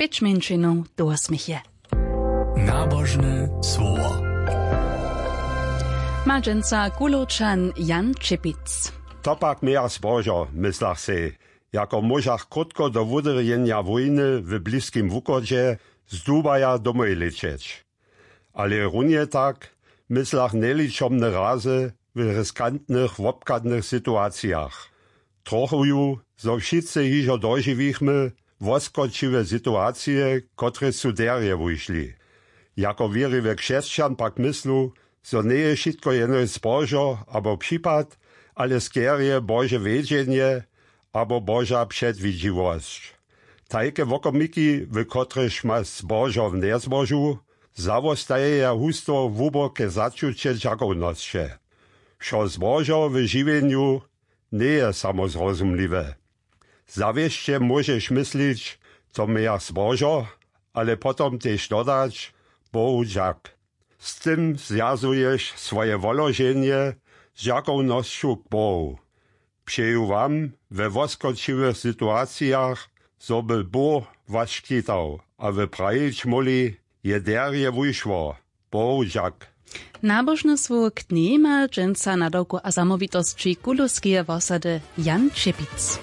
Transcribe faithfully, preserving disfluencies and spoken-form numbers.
Pěć mjeńšinow do wosměch je. Nabožne słowo. Ma dźensa Kulowčan Jan Čěpic. To pak mějach zbožo, myslach sej, jako móžach krótko do wudrjenja wójny w Bliskim Wuchodźe z Dubaja domoj lěćeć. Ale runje tak, myslach, njeličomne razy w riskantnych wobchadnych situacijach. Trochuju, zo wšitcy hižo dožiwichmy woskočiwe situacije, kotrež su derje wušli. Jako wěriwy křesćan pak myslu, zo njeje wšitko jenož zbožo abo připad, ale skerje Bože wjedźenje abo Boža předwidźiwosć. Tajke wokomiki, w kotrychž ma zbožo w njezbožu, zawostajeja husto hłuboke začuće dźakownosće. Wšo zbožo w žiwjenju njeje samozrozumliwe. Zawěsće móžeš myslić, to mějach zbožo, ale potom tež dodać: Bohu dźak. Z tym zwjazuješ swoje woloženje z dźakownosću k Bohu. Přeju wam we woskočiwych situacijach, zo by Bóh was škitał a wy prajić móhli: Je derje wušło, Bohu dźak. Nabožne słowo k njej ma dźensa nadawku a zamołwitosći kulowskeje wosady Jan Čěpic.